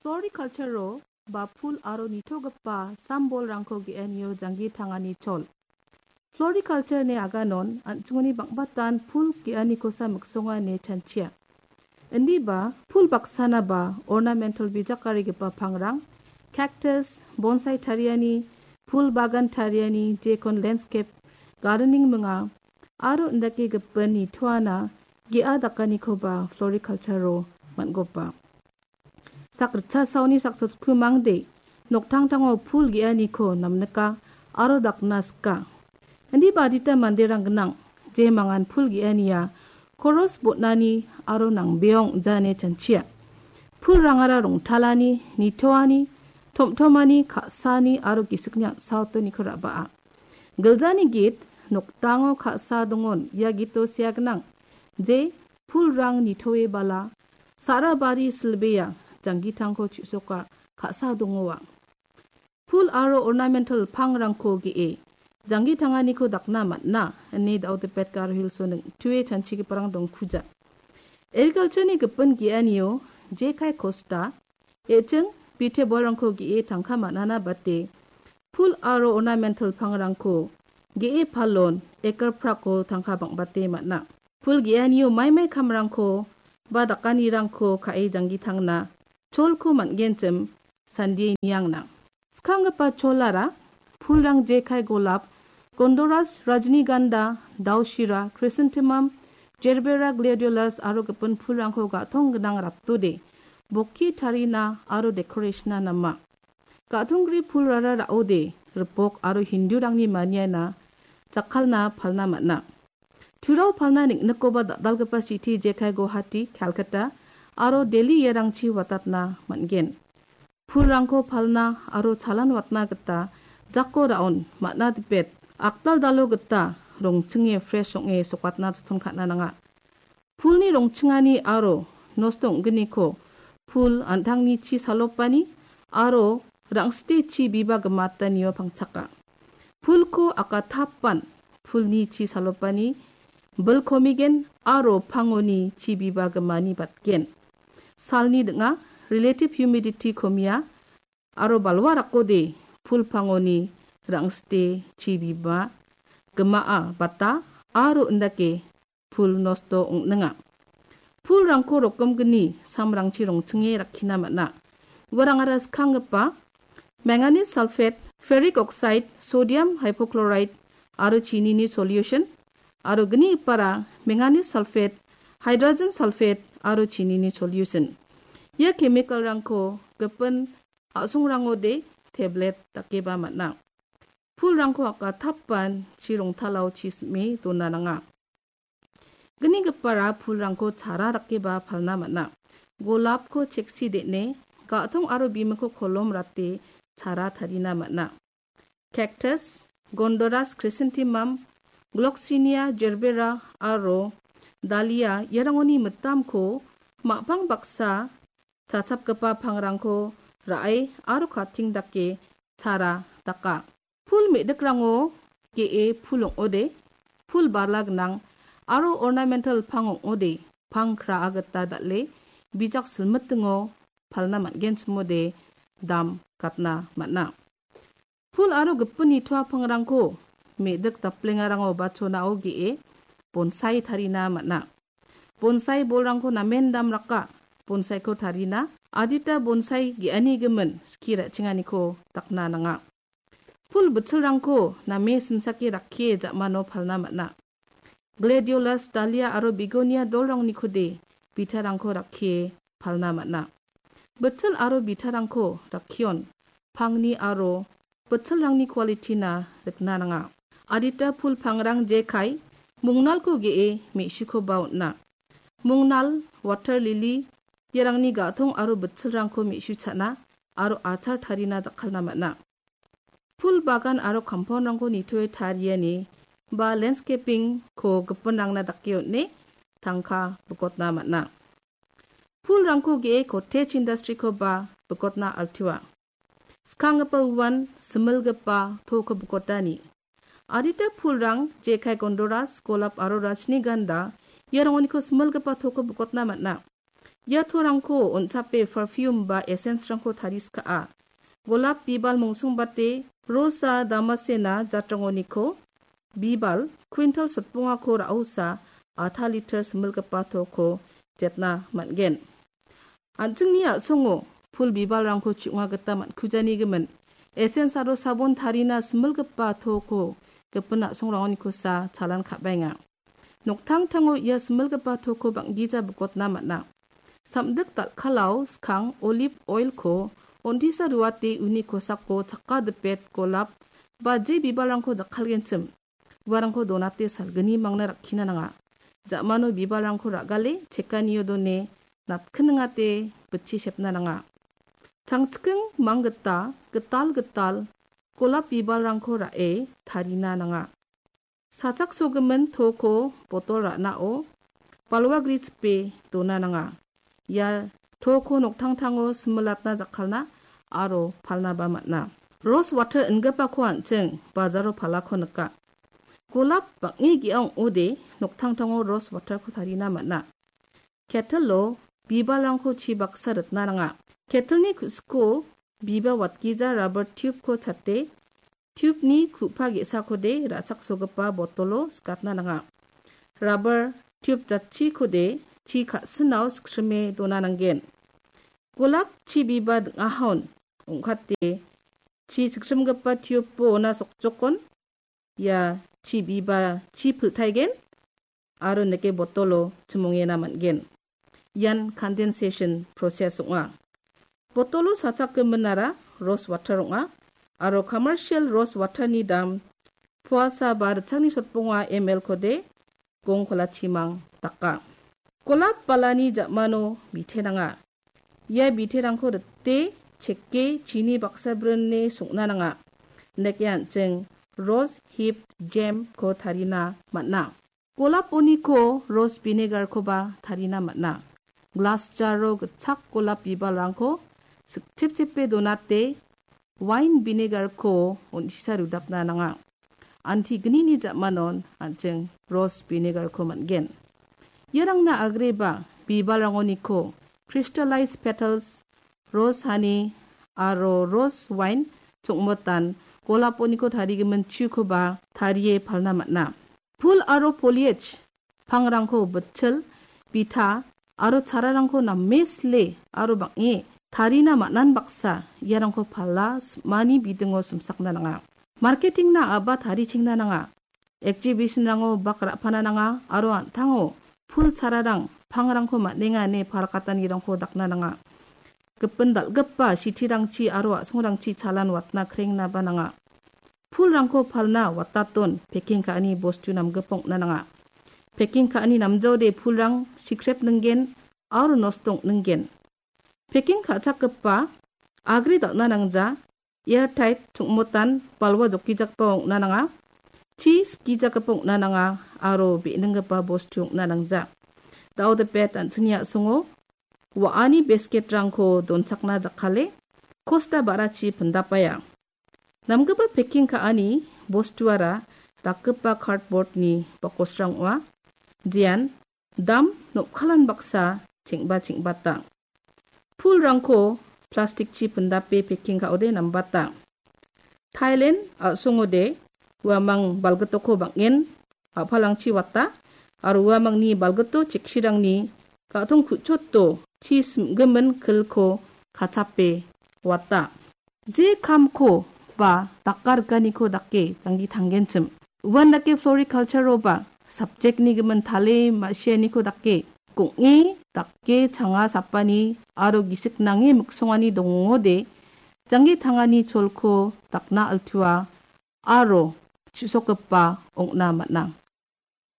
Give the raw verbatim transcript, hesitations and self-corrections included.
Floriculture-o ba pul aro nitogipa sambolrangko ge·anio janggi tangani chol. Floriculture-ni aganon an·chingoni bang·batan pul ge·anikosa miksonga ine chanchia. Indiba pul baksana ba ornamental bijakarigipa pangrang, cactus, bonsai tariani, pul bagan tariani, jekon landscape gardening minga, aro indake gipin nitoana ge·a dakanikoba floriculture-o man·gopa. Sakritcha saoni saksosku mangde, noktangtango pul ge·aniko namnika aro dakna sika. Indiba adita manderang gnang, je mangan pul ge·ania koros botnani aro nangbeong jane chanchia. Pulrangara rongtalani, nitoani, tomtomani, ka·sani aro gisikni an·saotoniko ra·baa. Giljani git nokdango ka·sa dongon, ia gito sea gnang, je pulrang nitoe bala, sa·ra bari silbea, janggitangko chu·soka, ka·sa dongoa. Pul aro ornamental pangrangko ge·e, janggi tanganiko dakna man·a, ine Daodipet Garo Hills-o ning·tue chanchigiparang dongkuja. Agriculture-ni gipin ge·anio, jekai kosta, e·ching bite bolrangko ge·e tangka man·ana bate, pul aro ornamental pangrangko ge·e palon, ekar prako tangka bang·bate man·a. Pul ge·anio maimai kamrangko ba dakanirangko ka·e janggitangna cholko man·genchim sandie niangna. Skanggipa cholara pulrang jekai golap, gondoras, rajniganda, dausira, chrysanthemum, gerbera, gladiolus aro gipin pulrangko ga·tong gnang ratode, bokki tarina aro decoration-na nama. Ga·tonggri pulrara ra·ode, ripok aro Hindurangni maniana jakkalna palna man·a. Turao palna ning·nikoba dal·dalgipa city jekai Guwahati, Calcutta aro Delhi iarangchi watatna man·gen. Pulrangko palna aro chalan watna gita jako ra·on man·a dipet, akdal dalo gita rongchinge fresh ong·e sokatna joton ka·na nanga. Pulni rongchingani aro nosto ong·gniko pul an·tangni chi salopani aro rang·site chi biba gimatanio pangchaka. Pulko akatapan pulni chi salopani bilkomigen aro pangoni chi biba gimani batgen. Salni ding·a, relative humidity komia aro balwa rakode pul pangoni rang·site chi biba gimaa bata aro indake pul nosto ong·ninga. Pulrangko rokgimgni samrangchi rongchinge rakkina man·a. Uarangara skanggipa manganese sulfate, ferric oxide, sodium hypochlorite aro chinini solution, aro gnigipara manganese sulfate, hydrogen sulfate aro chinini solution. Ia chemical-rangko gipin a·songrangode tablet dakeba man·a. Pulrangko akatapan chi rongtalao chi sim·e dona nanga. Gnigipara pulrangko chara dakeba palna man·a. Golapko cheksi de·ne, ga·tong aro bimikko kolom rate chara tarina man·a. Cactus, gondoras, chrysanthemum, gloxinia, gerbera aro dahlia iarangoni mitamko ma·pang baksa chachapgipa pangrangko ra·e aro kating dake chara daka. Pul me·dikrango ge·e pul ong·ode, pul bala gnang aro ornamental pang ong·ode, pang kraa gita dal·e bijak silmitingo palna man·genchimode dam gatna man·a. Pul aro gipin nitoa pangrangko me·dik daplengarango ba chonao ge·e bonsai tarina man·a. Bonsai bolrangko namen dam raka, bonsaiko tarina, adita bonsai ge·ani gimin skie ra·chenganiko dakna nanga. Pul bitchilrangko name simsake rakkie ja·mano palna man·a. Gladiolus, dahlia aro begonia dolrangnikode bitarangko rakkie palna man·a. Bitchil aro bitarangko rakkion pangni aro bitchilrangni quality-na rikna nanga. Adita pul pangrang jekai, mungnalko ge·e me·sikoba on·a. Mungnal, water lily, iarangni ga·tong aro bitchilrangko me·su cha·na aro achar tarina jakkalna man·a. Pul bagan aro compound-rangko nitoe tariani ba landscaping-ko gipinrangna dake on·e tangka bikotna man·a. Pulrangko ge·e cottage industry-koba bikotna altua. Skanggipa uan similgipa toko bikotani. Adita pulrang jekai gondoras, golap aro rajniganda iarangoniko similgipa toko bikotna man·a. Ia torangko on·chape perfume ba essence-rangko tariskaa. Golap bibal mongsongbate Rosa damascena jatrangoniko bibal quintal sotbongako ra·osa atha liter similgipa toko jetna man·gen. An·chingni a·songo pul bibalrangko chu·nga gita man·kujanigimin, essence aro sabon tarina similgipa toko gipin a·songrangonikosa chalan ka·baenga. Noktangtango ia similgipa toko bang·gija bikotna man·a. Samdik dal·kalao skang olive oil-ko on·tisa ruate uni kosako chakka dipet golap ba je bibalrangko jakkalgenchim, uarangko donate salgni mangna rakkina nanga. Ja·mano bibalrangko ra·gale chekanio done natkiningate bitchi sepna nanga. Tangchiking manggita gital gital golap bibalrangko ra·e tarina nanga. Sachaksogimin toko botol ra·nao balwa grichipe dona nanga. Ia toko noktangtango similatna jakkalna aro palnaba man·a. Rose water ingipako an·ching bajaro palako nika. Golap bang·e ge·a ong·ode noktangtango rose waterko tarina man·a. Kettle-o bibalrangko chi baksa ritna nanga. Kettle-ni ku·siko biba watgija rubber tube-ko chate, tube-ni ku·pa ge·sakode ra·chaksogipa botolo sikatna nanga. Rubber tube jatchikode chi ka·sinao siksrime dona nanggen. Golap chi biba ding·ahaon ong·kate chi siksimgipa tube-o ona sokjokon ia chi biba chi piltaigen aro nike botolo chimongena man·gen. Ian condensation process ong·a. Botolo sachakgiminara rose water ong·a aro commercial rose water-ni dam puasa ba ritchakni sotbonga M L-kode gong kolachimang daka. Golap balani ja·mano bite nanga. Ia biterangko rite cheke chini baksa brine song·na nanga. Nike an·ching rose hip jam-ko tarina man·a. Golap oniko rose vinegar-koba tarina man·a. Glass jar-o gitchak golap bibalrangko sikchepchepe donate wine vinegar-ko on·tisa rudapna nanga. Antignini ja·manon an·ching rose vinegar-ko man·gen. Iarangna agreba bibalrangoniko crystallized petals, rose honey aro rose wine chongmotan golaponiko tarigimin chukoba tarie palna man·a. Pul aro foliage pangrangko bitchil, bita aro chararangko name sile aro bang·e tarina man·an baksa iarangko pala sim·ani bidingo simsakna nanga. Marketing-na a·ba tarichengna nanga. Exhibition-rango bak ra·pana nanga aro an·tango pul chararang pangrangko man·enga ine parakatanirangko dakna nanga. Gipin dal·gipa sitirangchi aro a·songrangchi chalan watna krengnaba nanga. Pulrangko palna wataton packing ka·ani bostu namgipa ong·na nanga. Packing ka·ani namjaode pulrang sikrep ningen aro nosto ong·ningen. Packing ka·chakgipa agre dal·na nangja, airtight chongmotan balwa jokkijakgipa ong·na nanga, chi sikgijakgipa ong·na nanga aro be·ninggipa bostu ong·na nangja. Dao dipet an·chingni a·songo wa·ani basket-rangko donchakna jakkale kosta ba·rachi pindapaia. Namgipa packing ka·ani bostuara dakgipa cardboard-ni bakosrang ong·a, jean dam nokkalan baksa cheng·ba cheng·bata. Pulrangko plastic-chi pindape packing ka·ode nambata. Thailand a·songode uamang balgitoko bang·en a·palrangchi wata aro uamangni balgito cheksirangni ga·tong ku·choto chi simgimin kilko kachape wata. Je kamko ba dakarikaniko dake janggi tanggenchim. Uan dake floriculture-oba subject-ni gimin tale ma·sianiko dake gong·e dake changa sapani aro gisik nange miksongani dongode janggi tangani cholko dakna altua aro chu·sokgipa ong·na man·a.